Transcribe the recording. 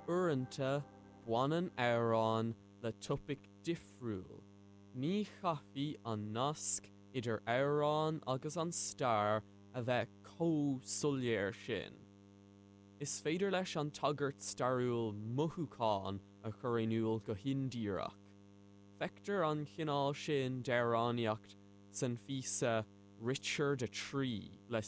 Uaireanta, baineann amhráin le topaic difriúil. Ní chaithfidh an nasc idir amhrán agus an stair a bheith chomh soiléir sin. Is féidir leis an tagairt stairiúil mothúchán a chur in iúl go hindíreach. Feictear an chineál sin d'amhránaíocht san phíosa Richard 3 le.